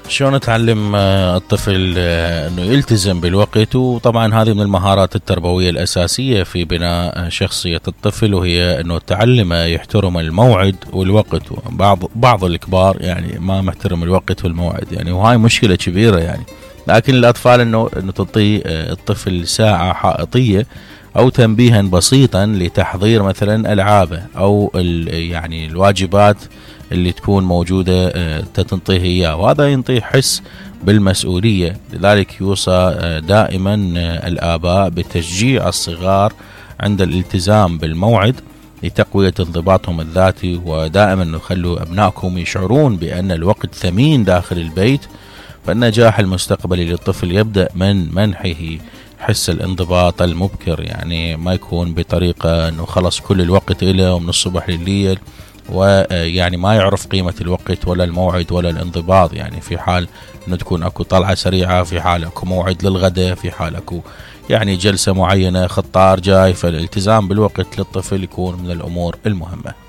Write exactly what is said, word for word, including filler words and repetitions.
شلون تعلم الطفل انه يلتزم بالوقت؟ وطبعا هذه من المهارات التربوية الاساسية في بناء شخصية الطفل، وهي انه تعلمه يحترم الموعد والوقت. بعض بعض الكبار يعني ما محترم الوقت والموعد يعني، وهاي مشكلة كبيرة يعني. لكن الاطفال انه انه تعطي الطفل ساعة حائطية او تنبيها بسيطا لتحضير مثلا العابه او يعني الواجبات اللي تكون موجودة تنطيه اياه، وهذا ينطيه حس بالمسؤولية. لذلك يوصى دائما الآباء بتشجيع الصغار عند الالتزام بالموعد لتقوية انضباطهم الذاتي، ودائما نخلوا أبنائكم يشعرون بأن الوقت ثمين داخل البيت. فالنجاح المستقبلي للطفل يبدأ من منحه حس الانضباط المبكر، يعني ما يكون بطريقة أنه خلص كل الوقت إله ومن الصبح لليل، ويعني ما يعرف قيمة الوقت ولا الموعد ولا الانضباط. يعني في حال أنه تكون أكو طلعة سريعة، في حال أكو موعد للغداء، في حال أكو يعني جلسة معينة، خطار جاي، فالالتزام بالوقت للطفل يكون من الأمور المهمة.